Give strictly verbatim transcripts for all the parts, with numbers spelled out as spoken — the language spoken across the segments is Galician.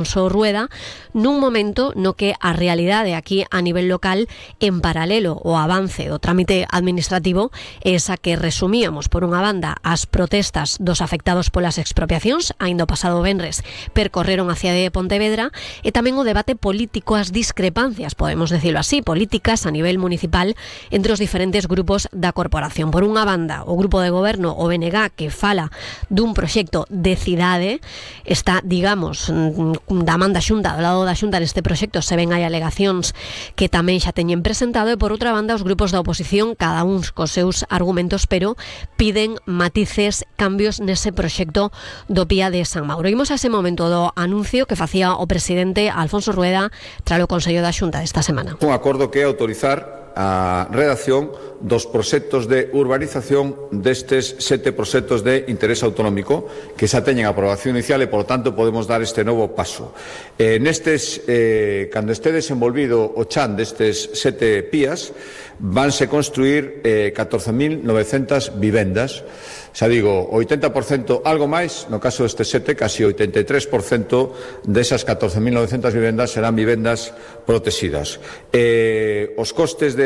Alfonso Rueda, nun momento no que a realidade aquí a nivel local, en paralelo ao avance do trámite administrativo, é esa que resumíamos. Por unha banda, as protestas dos afectados polas expropiacións, aínda o pasado venres percorreron a cidade de Pontevedra, e tamén o debate político, as discrepancias, podemos decirlo así, políticas a nivel municipal entre os diferentes grupos da corporación. Por unha banda, o grupo de goberno, o B N G, que fala dun proxecto de cidade, está, digamos, da man da Xunta, do lado da Xunta neste proxecto se ven hai alegacións que tamén xa teñen presentado, e por outra banda os grupos da oposición, cada un cos seus argumentos, pero piden matices, cambios nese proxecto do Pía de San Mauro. Imos a ese momento do anuncio que facía o presidente Alfonso Rueda tras o Consello da Xunta esta semana. Un acordo que é autorizar a redacción dos proxectos de urbanización destes sete proxectos de interés autonómico que xa teñen aprobación inicial e, por tanto, podemos dar este novo paso. Eh, nestes, eh, cando este desenvolvido o chan destes sete pías, vanse construir eh, catorce mil novecentas vivendas. Xa digo, oitenta por cento, algo máis, no caso deste sete, casi oitenta e tres por cento desas catorce mil novecentas vivendas serán vivendas protegidas. Eh, os costes de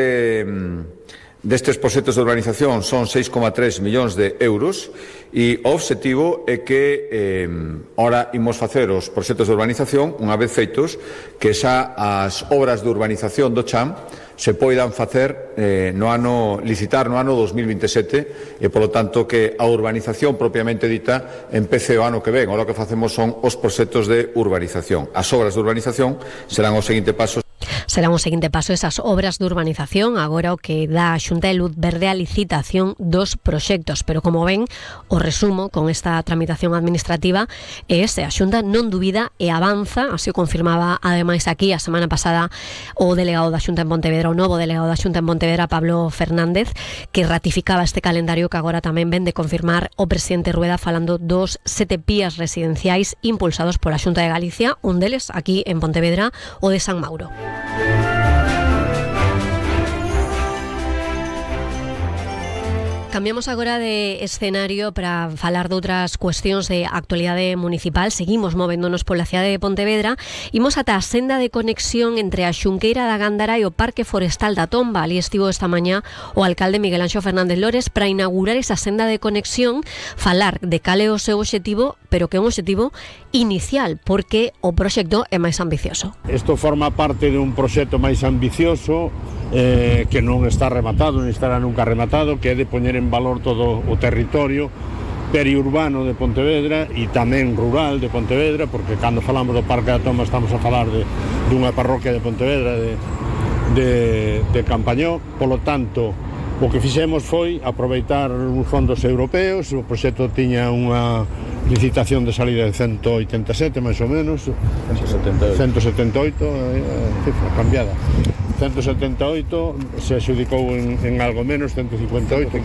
destes proxectos de urbanización son seis coma tres millóns de euros e o obxectivo é que eh, ora imos facer os proxectos de urbanización, unha vez feitos, que xa as obras de urbanización do chan se poidan facer eh, no ano, licitar no ano dos mil vinte e sete, e polo tanto que a urbanización propiamente dita empece o ano que ven. Ora o que facemos son os proxectos de urbanización. As obras de urbanización serán o seguinte paso. Será un seguinte paso esas obras de urbanización, agora o que dá a Xunta de Luz Verde a licitación dos proxectos, pero como ven, o resumo con esta tramitación administrativa é ese: a Xunta non dubida e avanza, así o confirmaba ademais aquí a semana pasada o delegado da Xunta en Pontevedra, o novo delegado da Xunta en Pontevedra, Pablo Fernández, que ratificaba este calendario que agora tamén ven de confirmar o presidente Rueda, falando dos sete pías residenciais impulsados pola Xunta de Galicia, un deles aquí en Pontevedra, o de San Mauro. Cambiamos agora de escenario para falar de outras cuestións de actualidade municipal. Seguimos movéndonos pola cidade de Pontevedra. Imos ata a senda de conexión entre a Xunqueira da Gándara e o Parque Forestal da Tomba. Ali estivo esta mañá o alcalde Miguel Anxo Fernández Lores para inaugurar esa senda de conexión, falar de cal é o seu obxectivo, pero que é un obxectivo inicial, porque o proxecto é máis ambicioso. Isto forma parte dun proxecto máis ambicioso eh, que non está rematado, non estará nunca rematado, que é de poñer en valor todo o territorio periurbano de Pontevedra e tamén rural de Pontevedra, porque cando falamos do Parque da Tomba estamos a falar de, dunha parroquia de Pontevedra, de, de, de Campañó. Polo tanto, o que fixemos foi aproveitar uns fondos europeos. O proxecto tiña unha licitación de salida de ciento oitenta e sete, máis ou menos, ciento setenta e oito, eh, cifra cambiada, ciento setenta e oito, se adxudicou en, en algo menos, ciento cincuenta e oito,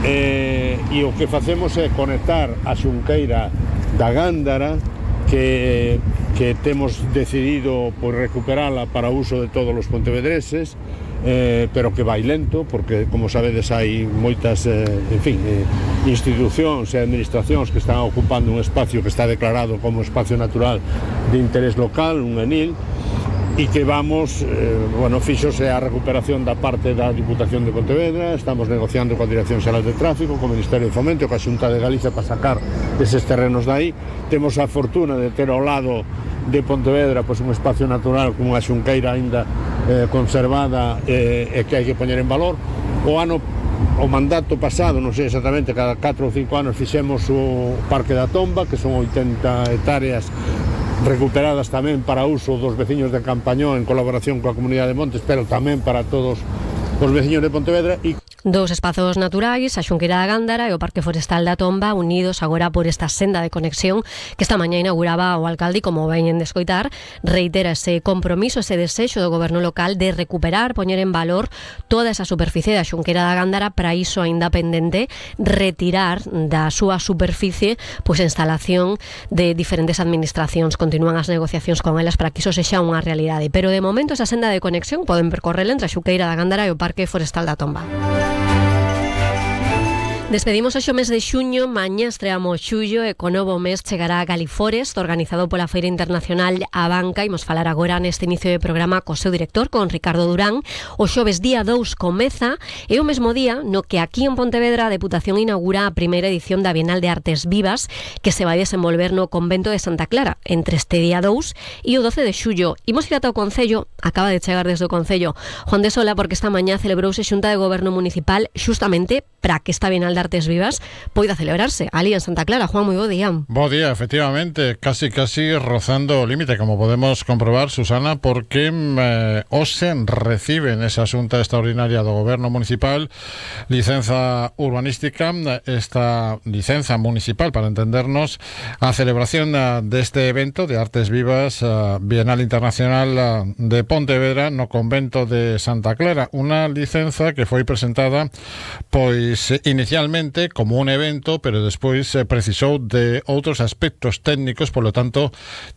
eh, e o que facemos é conectar a Xunqueira da Gándara, que, que temos decidido por recuperala para uso de todos os pontevedreses, Eh, pero que vai lento, porque, como sabedes, hai moitas eh, en fin, eh, institucións e administracións que están ocupando un espacio que está declarado como espacio natural de interés local, un ENIL, e que vamos, eh, bueno, fixose a recuperación da parte da Diputación de Pontevedra. Estamos negociando coa Dirección Xeral de Tráfico, co Ministerio de Fomento, coa Xunta de Galicia para sacar eses terrenos dai. Temos a fortuna de ter ao lado de Pontevedra pois un espacio natural como a Xunqueira aínda eh, conservada eh, e que hai que poñer en valor. O ano, o mandato pasado, non sei exactamente, cada catro ou cinco anos fixemos o Parque da Tomba, que son oitenta hectáreas recuperadas tamén para uso dos veciños de Campañó en colaboración coa Comunidade de Montes, pero tamén para todos os veciños de Pontevedra. E Dous espazos naturais, a Xunqueira da Gándara e o Parque Forestal da Tomba, unidos agora por esta senda de conexión que esta mañá inauguraba o alcalde, e como veñen de escoitar, reitera ese compromiso, ese desexo do goberno local de recuperar, poñer en valor toda esa superficie da Xunqueira da Gándara. Para iso aínda pendente retirar da súa superficie pois a instalación de diferentes administracións. Continúan as negociacións con elas para que iso sexa unha realidade, pero de momento esa senda de conexión poden percorrerla entre a Xunqueira da Gándara e o Parque Forestal da Tomba. Despedimos hoxe o mes de xuño, mañá estreamos xullo e co novo mes chegará a Galiforest, organizado pola Feira Internacional A Banca. Imos falar agora neste inicio de programa co seu director, con Ricardo Durán. O xoves día dous comeza e o mesmo día no que aquí en Pontevedra a Deputación inaugura a primeira edición da Bienal de Artes Vivas, que se vai desenvolver no convento de Santa Clara entre este día dous e o doce de xullo. Imos ir ata o Concello, acaba de chegar desde o Concello Juan de Sola, porque esta mañá celebrouse xunta de Goberno Municipal xustamente para que esta Bienal de Artes Vivas poida celebrarse ali en Santa Clara. Juan, moi bo día. Bo día, efectivamente, casi casi rozando o límite, como podemos comprobar, Susana, porque eh, hoxe reciben esa xunta extraordinaria do Goberno Municipal licenza urbanística, esta licenza municipal, para entendernos, a celebración deste evento de Artes Vivas, uh, Bienal Internacional uh, de Pontevedra no convento de Santa Clara, unha licenza que foi presentada pois inicialmente como un evento, pero despois eh, precisou de outros aspectos técnicos, polo tanto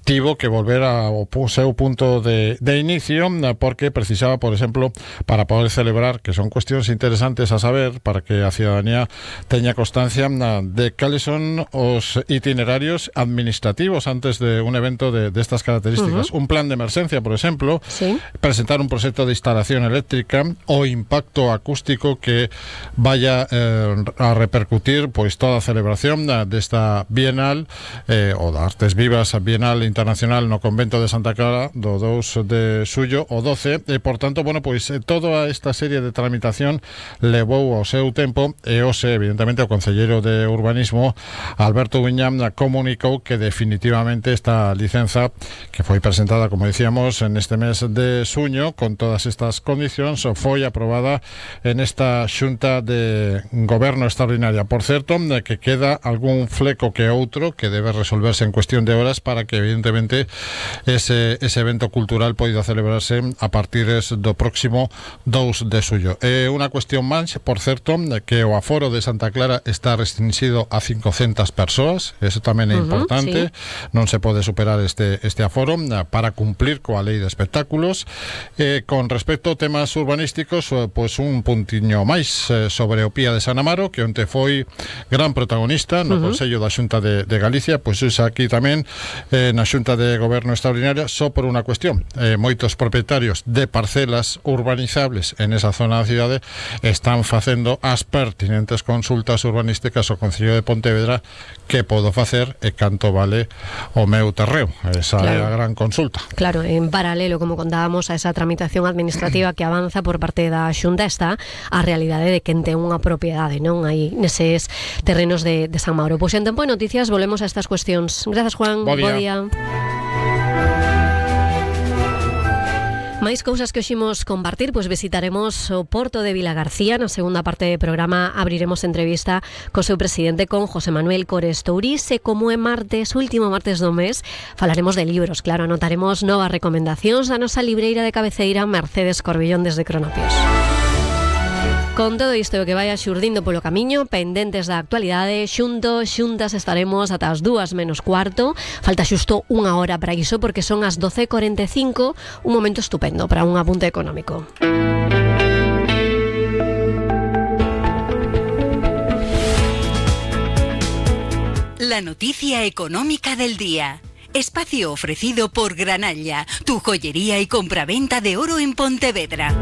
tivo que volver ao seu punto de, de inicio, porque precisaba, por exemplo, para poder celebrar, que son cuestións interesantes a saber, para que a ciudadanía teña constancia de cales son os itinerarios administrativos antes de un evento de, de estas características. Uh-huh. Un plan de emerxencia, por exemplo, ¿sí? Presentar un proxecto de instalación eléctrica, o impacto acústico que vaya eh, a repercutir pois toda a celebración desta Bienal eh, o da Artes Vivas, a Bienal Internacional no convento de Santa Clara do dous de xullo ao doce, e por tanto, bueno, pois toda esta serie de tramitación levou ao seu tempo, e hoxe, evidentemente, o concelleiro de Urbanismo Alberto Viñam comunicou que definitivamente esta licenza, que foi presentada, como dicíamos, en este mes de xuño con todas estas condicións, foi aprobada en esta xunta de Goberno extraordinaria. Por certo, que queda algún fleco que outro que debe resolverse en cuestión de horas para que, evidentemente, ese, ese evento cultural poida celebrarse a partir do próximo dous de xullo. É unha cuestión máis, por certo, que o aforo de Santa Clara está restringido a cincocentas persoas, eso tamén é importante, uh-huh, sí. Non se pode superar este, este aforo para cumplir coa lei de espectáculos. Eh, con respecto a temas urbanísticos, pois un puntiño máis eh, sobre o Pía de San Amaro, que onte foi gran protagonista no uh-huh. Consello da Xunta de, de Galicia, pois é aquí tamén eh, na Xunta de Goberno Extraordinaria, só por unha cuestión. Eh, moitos propietarios de parcelas urbanizables en esa zona da cidade están facendo as pertinentes consultas urbanísticas ao Concello de Pontevedra, que podo facer e canto vale o meu terreo. Esa claro. É a gran consulta. Claro, en paralelo, como contábamos, a esa tramitación administrativa que avanza por parte da Xunta, está a realidade de quen ten unha propiedade, non? Aí neses terrenos de, de San Mauro. Pois en tempo de noticias volvemos a estas cuestións. Grazas, Juan. Bo día. Bo día. Máis cousas que oximos compartir, pois visitaremos o Porto de Vilagarcía. Na segunda parte do programa abriremos entrevista co seu presidente, con José Manuel Cores Tourís, e como é martes, último martes do mes, falaremos de libros. Claro, anotaremos novas recomendacións da nosa libreira de cabeceira, Mercedes Corbillón, desde Cronopios. Con todo isto que vai xurdindo polo camiño, pendentes da actualidade, xuntos, xuntas estaremos ata as dúas menos cuarto. Falta xusto unha hora para iso, porque son as doce e cuarenta e cinco, un momento estupendo para un apunte económico. La noticia económica del día. Espacio ofrecido por Granalla, tu joyería y compraventa de oro en Pontevedra.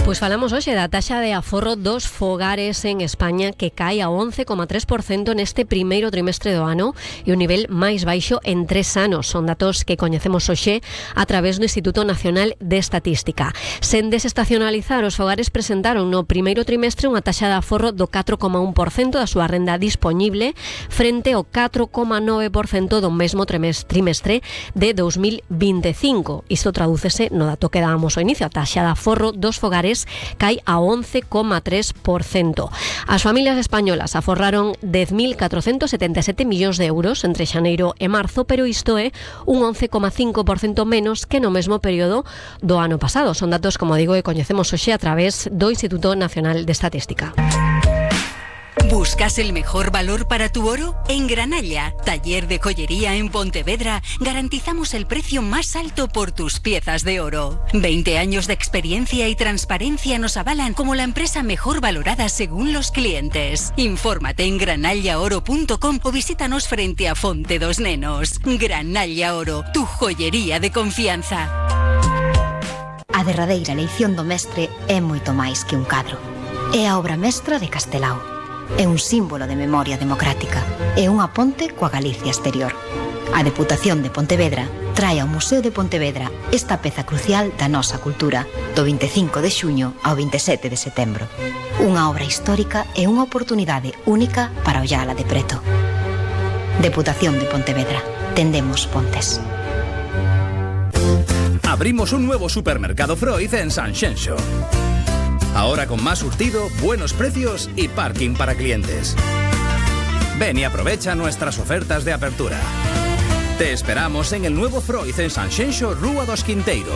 Pois falamos hoxe da taxa de aforro dos fogares en España, que cae a once coma tres por cento neste primeiro trimestre do ano, e o nivel máis baixo en tres anos. Son datos que coñecemos hoxe a través do Instituto Nacional de Estatística. Sen desestacionalizar, os fogares presentaron no primeiro trimestre unha taxa de aforro do catro coma un por cento da súa renda dispoñible, frente ao catro coma nove por cento do mesmo trimestre de dous mil vinte e cinco. Isto tradúcese no dato que dábamos ao inicio. A taxa de aforro dos fogares cae a once coma tres por cento. As familias españolas aforraron dez mil catrocentos setenta e sete millóns de euros entre xaneiro e marzo, pero isto é un once coma cinco por cento menos que no mesmo período do ano pasado. Son datos, como digo, que coñecemos hoxe a través do Instituto Nacional de Estatística. ¿Buscas el mejor valor para tu oro? En Granalla, taller de joyería en Pontevedra, garantizamos el precio más alto por tus piezas de oro. veinte años de experiencia y transparencia nos avalan como la empresa mejor valorada según los clientes. Infórmate en granalla oro punto com o visítanos frente a Fonte dos Nenos. Granalla Oro, tu joyería de confianza. A derradeira eleición do mestre é moito máis que un cadro. É a obra mestra de Castelao. É un símbolo de memoria democrática. É unha ponte coa Galicia exterior. A Deputación de Pontevedra trae ao Museo de Pontevedra esta peza crucial da nosa cultura do vinte e cinco de xuño ao vinte e sete de setembro. Unha obra histórica e unha oportunidade única para ollala de preto. Deputación de Pontevedra. Tendemos pontes. Abrimos un nuevo supermercado Freud en Sanxenxo. Ahora con más surtido, buenos precios y parking para clientes. Ven y aprovecha nuestras ofertas de apertura. Te esperamos en el nuevo Freud en Sanxenxo, Rúa dos Quinteiro.